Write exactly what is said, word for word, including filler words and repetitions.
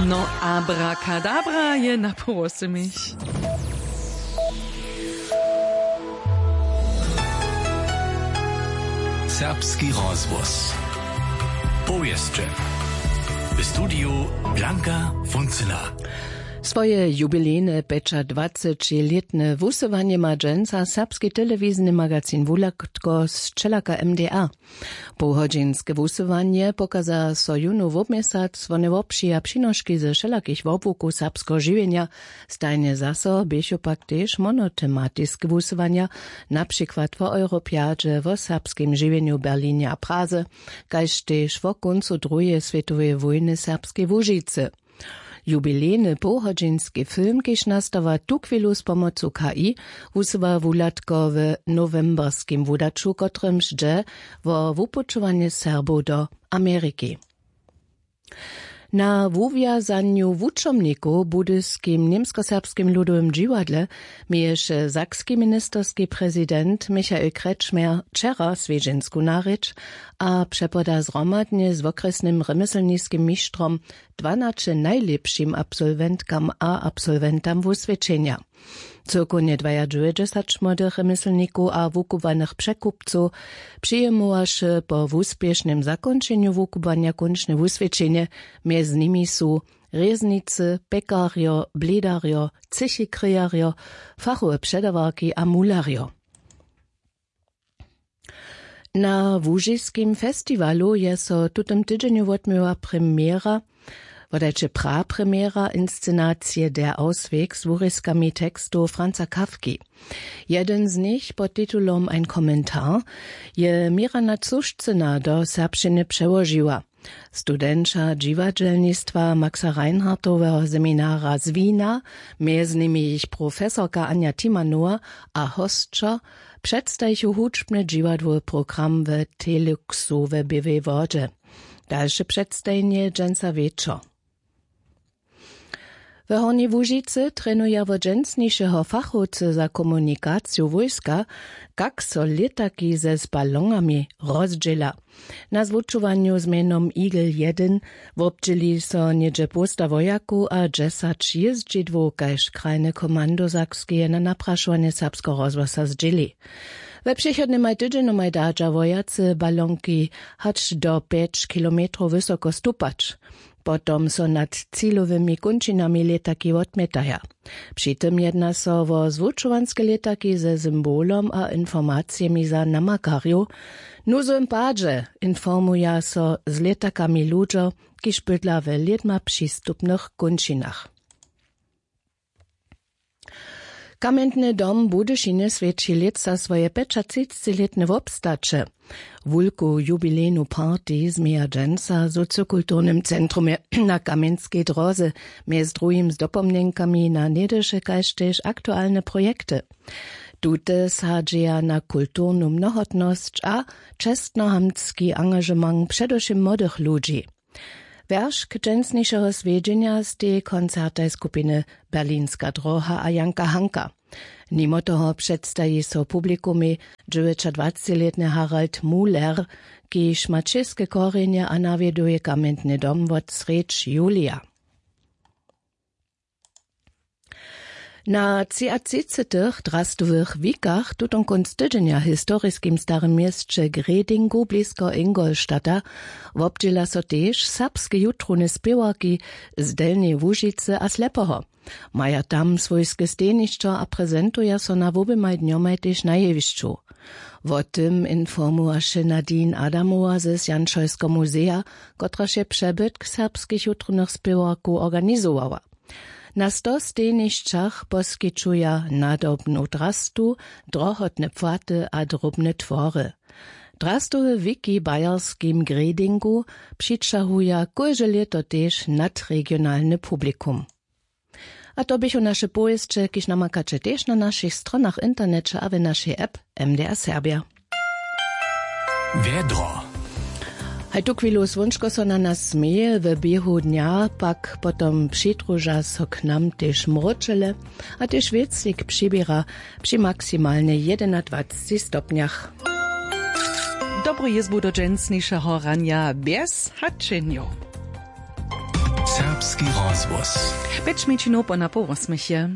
No, abrakadabra je na połosemich. Serbski rozhłos. Powěsće. W studiju Blanka Funcyna. Swoje jubilejne pjećadwacećilětne wusyłanje ma dźensa serbski telewizijny magazin Wulatko z Čelaka M D A. Połhodźinske wusyłanje pokaza so jónu wobměsac, wone wobpřija přinoški ze wšelakich wobłukow serbskeho žiwjenja. Stajnje zaso běchu pak tež monotematiske wusyłanja, na přikład wo Europjadźe, wo serbskim žiwjenju w Berlinje a Praze, kaž tež wo kóncu druheje swětoweje wójny w Serbskej Łužicy. Jubilejny połhodźinski film, kiž nastawa tuchwilu z pomocu K I, wusyła Wulatko w nowemberskim wudaću, kotrymž dźe wo wupućowanje Serbow do Ameriki. Na wuwjazanju wučomnikow w budyskim Němskoserbskim ludowym dźiwadle měješe sakski ministerski prezident Michael Kretschmer wčera swjedźensku narěč a přepoda zhromadnje z wokrjesnym rjemjeslniskim mištrom dwanaće najlěpšim absolwentkam a absolwentam wuswědčenja. Cyłkownje dwajadźewjećdźesat młodych rjemjeslnikow a wukubłanych překupcow přijimowaše po wuspěšnym zakónčenju wukubłanja kónčne wuswědčenje. Mjez nimi su rěznicy, pjekarjo, blědarjo, třěchi krejarjo, fachowe předawarki a mularjo. Na łužiskim festiwalu je so w tutym tydźenju wotměła premjera, wodajće prapremjera inscenacije Der Ausweg z wurězkami tekstow Franza Kafki. Jedyn z nich pod titulom Ein Kommentar je Mirana Cušcyna do serbšćiny přełožiła. Studenća dźiwadźelnistwa Maxa Reinhardtoweho seminara z Wina, mjez nimi jich profesorka Anja Timanowa a hosćo, předstajichu hudźbny dźiwadłowy program w Telexu we Běłej Wodźe. Dalše předstajenje dźensa wječor. W Hornjej Łužicy trenuja wot dźensnišeho fachowcy za komunikaciju wójska, kak so lětaki ze z balonami rozdźěla. Na zwučowanju z mjenom Eagle jedyn wobdźěli so něhdźe połsta wojakow a dźesać jězdźidłow kaž krajne komando Sakskeje na naprašowanje Serbskeho rozhłasa zdźěli. We přechodnymaj tydźenjomaj dadźa wojacy balonki hač do pjeć kilometrow wysoko stupać. Potom so nad cilowymi kónčinami lětaki wotmjetaja. Při tym jedna so wo zwučowanske lětaki ze symbolom a informacijemi za namakarjow. W nuzowym padźe informuja so z lětakami ludźo, kiž bydla we lědma přistupnych kónčinach. Kamjentny dom w Budyšinje swjeći lětsa swoje pjećatřicećilětne wobstaće. Wulku jubilejnu party změja dźensa w sociokulturnym centrumje na Kamjenskej dróze, mjez druhim z dopomnjenkami na něhdyše kaž tež aktualne projekty. Tute sadźeja na kulturnu mnohotnosć a čestnohamtski angažement předewšěm młodych ludźi. Wjeršk dźensnišeho swjedźenja steji koncertaj skupiny Berlinska dróha a Janka Hanka. Nimo toho předstaji so publikumej dźewjećadwacećilětny Harald Muller, kiž ma čěske korjenje a nawjeduje kamjentny dom wot srjedź julija. Na třiatřicećich drastowych wikach tutón kónc tydźenja w historiskim starym měsće Gredingu blisko Ingolstadta wobdźěla so tež serbske jutrowne spěwarki z Delnjeje Łužicy a Slepoho. Maja tam swójske stejnišćo a prezentuja so na woběmaj dnjomaj tež na jewišću. Wo tym informowaše Nadine Adamowa z Janšojskeho muzeja, kotraž je přebytk serbskich jutrownych spěwarkow organizowała. Na sto stejnišćach poskićuja nadobnu drastu, drohotne płaty a drobne twory. Drastowe wiki w bayerskim Gredingu přićahuja kóžde lěto tež nadregionalny publikum. A to běchu naše powěsće, kiž namakaće tež na našich stronach w interneće a w našej app M D R Serbja. Wjedro. Haj tuchwilu słónčko so na nas směje, w běhu dnja pak potom přidruža so k nam tež mróčele a tež wětřik přiběra při maksimalnje jedynadwaceći stopnjach. Dobru jězbu do dźensnišeho ranja bjez haćenjow. Serbski rozhłos. Pěć mjeńšinow po napoł wosmich je.